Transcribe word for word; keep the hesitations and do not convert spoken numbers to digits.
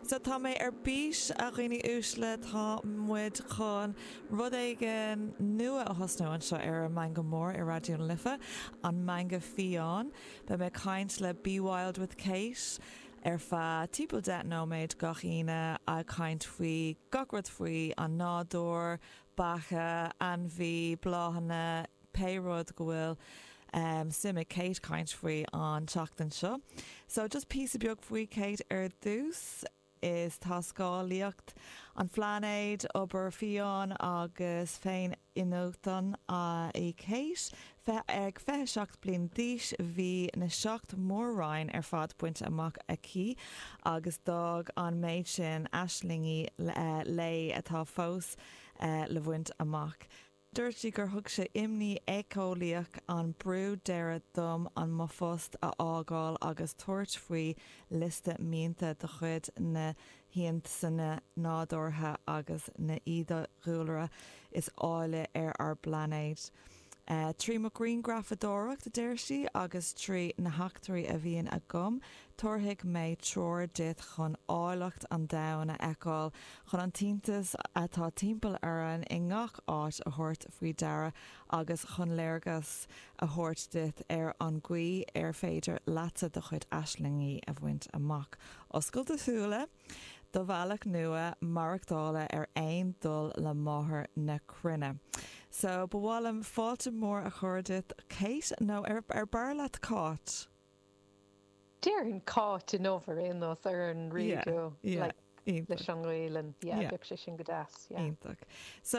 So tá mé ar bís a dhaoine uaisle tá muid chun rud éigin nua a thosnú anseo ar an Meangadh Mór ar Raidió na Life an Meangadh Fiáin, Beidh mé ag caint le Be Wild with Kate ar feadh timpeall deich nóiméad gach Aoine ag caint faoi gach rud faoi an nádúr, beatha, ainmhí, bláthanna, pé rud go bhfuil um, suim ag Kate caint faoi an tseachtain seo. So just píosa beag faoi Kate ar dtús is taiscéalaíocht an phláinéid obair fiáin agus féin-iniúchadh í Kate. Fe ag fiche seacht bliain d'aois bhí na seacht mór-roinn ar fad bainte amach aici agus d'fhág an méid sin aislingí léi atá fós uh, le baint amach. Dúirt sí gur thug sé imní éiceolaíoch an brú deireadh dom an mo phost a fhágáil agus tabhairt faoi liosta mianta de chuid na hiontaise nádúrtha agus na fiadhúlra is áille ar ár bpláinéad. Uh, trí mo ghrianghrafadóireacht deir sí agus trí na heachtraí a bhíonn agam, tabharfaidh mé treoir duit chun áilleacht an domhain a fheiceáil chun an t-iontas atá timpeall orainn i ngach áit a thabhairt faoi deara agus chun léargas a thabhairt duit ar an gcaoi ar féidir leatsa do chuid aislingí a bhaint amach. Oscail do shúile, do bhealach nua maireachtála ar aon dul le máthair na cruinne. So ba mhaith liom fáilte mór a chur duit Kate nó ar ar b'fhearr leat Cáit? Déarfainn Cáit inniu ar aon nós ar an raidió leis an Ghaelainn bheadh sé sin go deas. Iontach. So